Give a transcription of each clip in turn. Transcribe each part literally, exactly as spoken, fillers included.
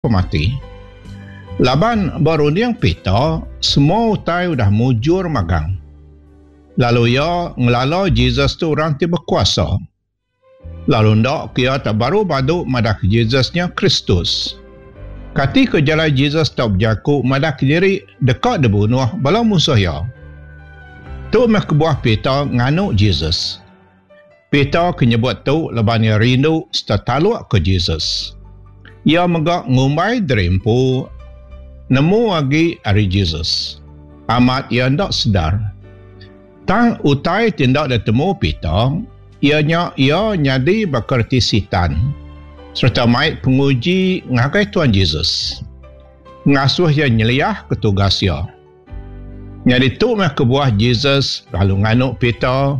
Pemati. Laban ba runding Peter, semua utai udah mujur magang. Lalu iya ngelala Jesus tu orang ti bekuasa. Lalu enda ke iya tak baru badu madahka Jesus nya Kristus. Kati ke jalai Jesus tau bejaku madahka diri deka dibunuh bala munsuh iya? Tu meh kebuah Peter nganu Jesus. Peter ke nyebut tu laban iya rindu sereta taluk ke Jesus. Iya mega ngumbai diri empu nemu agi ari Jesus. Amat iya enda sedar. Tang utai ti enda ditemu Peter iya nya iya nyadi baka reti Sitan sereta mai penguji ngagai Tuan Jesus ngasuh iya nyeliahka tugas iya. Nyadi tu meh kebuah Jesus lalu nganu Peter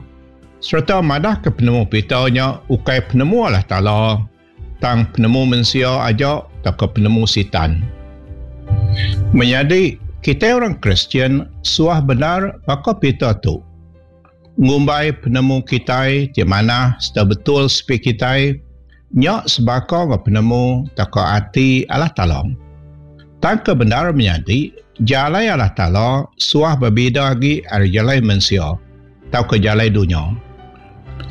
sereta madahka penemu Peter nya ukai penemu Allah Taala tang penemu mensia aja tauka penemu Sitan. Menyadi, kitai orang Kristian suah bendar baka Peter tu. Ngumbai penemu kitai ti manah sereta betul sepi kitai nya sebaka enggau penemu tauka ati Allah Taala. Tang ke bendar menyadi, jalai Allah Taala suah bebida agi ari jalai mensia tauka jalai dunya.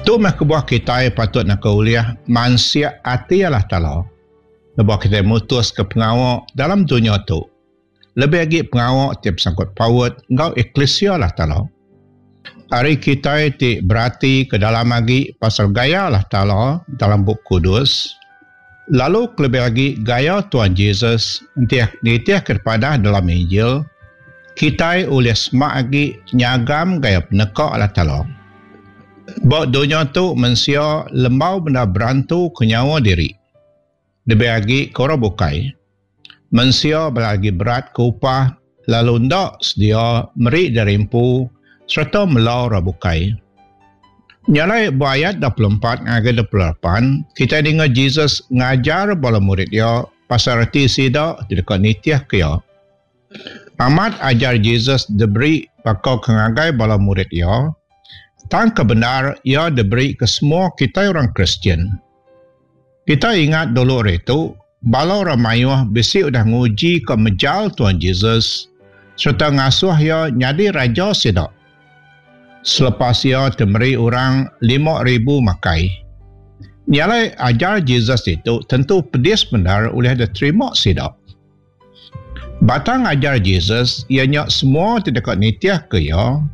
Tu meh kebuah kitai patut naka ulih mansik ati Allah Taala lebuh kitai mutuska pengawa dalam dunya tu, lebih agi pengawa ti besangkut paut enggau eklisia Allah Taala. Ari kitai ti beratika dalam agi pasal gaya Allah Taala dalam Bup Kudus, lalu kelebih agi gaya Tuan Jesus enti nitihka dipadah dalam Injil, kitai ulih semak agi nyagam gaya peneka Allah Taala. Ba dunya tu mensia lembau bendar berantu ke nyawa diri lebih agi ke orang bukai. Mensia bala agi berat ke upah lalu enda sedia meri diri empu sereta mela orang bukai. Nya alai ba ayat dua puluh empat ngagai dua puluh lapan kitai ninga Jesus ngajar bala murid iya pasal reti sida ti deka nitihka iya. Amat ajar Jesus diberi baka ke ngagai bala murid iya, tang ke bendar iya diberi ke semua kitai orang Kristian. Kitai ingat dulu ari tu, bala orang mayuh bisi udah nguji ka mejal Tuan Jesus sereta ngasuh iya nyadi raja sida. Selepas iya ti meri orang lima ribu makai. Nya alai ajar Jesus ditu tentu pedis bendar ulih diterima sida. Batang ajar Jesus iya nya semua ti deka nitihka iya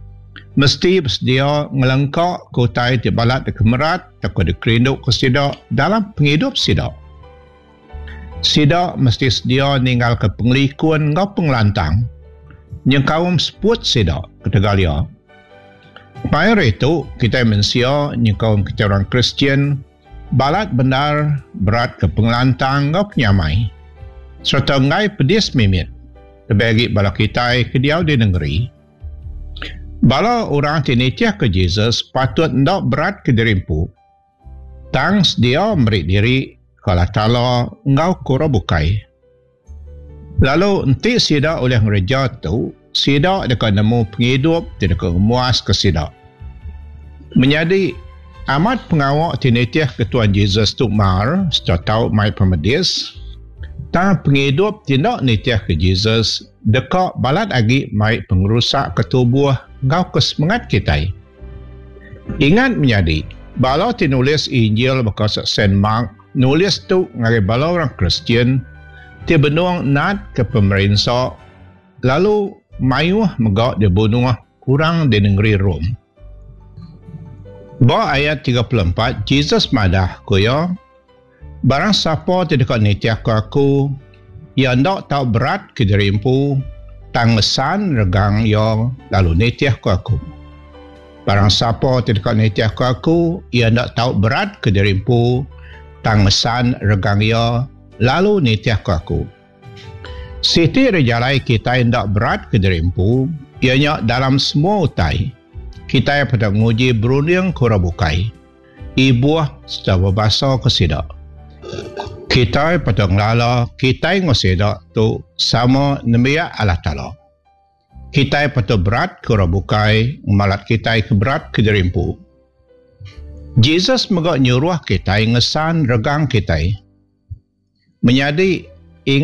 mesti besedia ngelengka ke utai ti balat dikemerat tauka dikerinduka sida dalam pengidup sida. Sida mesti sedia ninggalka pengelikun enggau pengelantang, nyengkaum seput sida ketegal iya. Maya hari tu, kitai mensia nyengkaum kitai orang Kristian balat bendar beratka pengelantang enggau penyamai sereta enggai pedis mimit lebih agi bala kitai ke diau di nengeri. Bala orang ti nitihka Jesus patut enda beratka diri empu tang sedia meri diri ke Allah Taala enggau ke orang bukai. Lalu enti sida ulih ngereja tu, sida deka nemu pengidup ti deka ngemuaska sida. Menyadi, amat pengawa ti nitihka Tuan Jesus tu mar sereta tau mai pemedis, tang pengidup ti enda nitihka Jesus deka balat agi mai pengerusak ke tubuh enggau ke semengat kitai. Ingat menyadi, bala ti nulis Injil baka Saint Mark nulis tu ngagai bala orang Kristian ti benung natka pemerinsa lalu mayuh mega dibunuh orang di nengeri Rome. Ba ayat tiga puluh empat, Jesus madah ku iya, barang sapa ti deka nitihka aku, iya enda tau berat ke diri empu, tang ngesan regang iya lalu nitihka aku. Barang sapa ti deka nitihka aku, iya enda tau berat ke diri empu, tang ngesan regang iya lalu nitihka aku. Siti ari jalai kitai enda berat ke diri empu, iya nya dalam semua utai, kitai patut nguji berunding ke orang bukai, ibuh sereta bebasa ke sida. Kitai patut ngelala kitai enggau sida tu sama nembiak Allah Taala. Kitai patut berat ke orang bukai ngemalat kitai ke berat ke diri empu. Jesus mega nyuruh kitai ngesan regang kitai. Menyadi, Ingat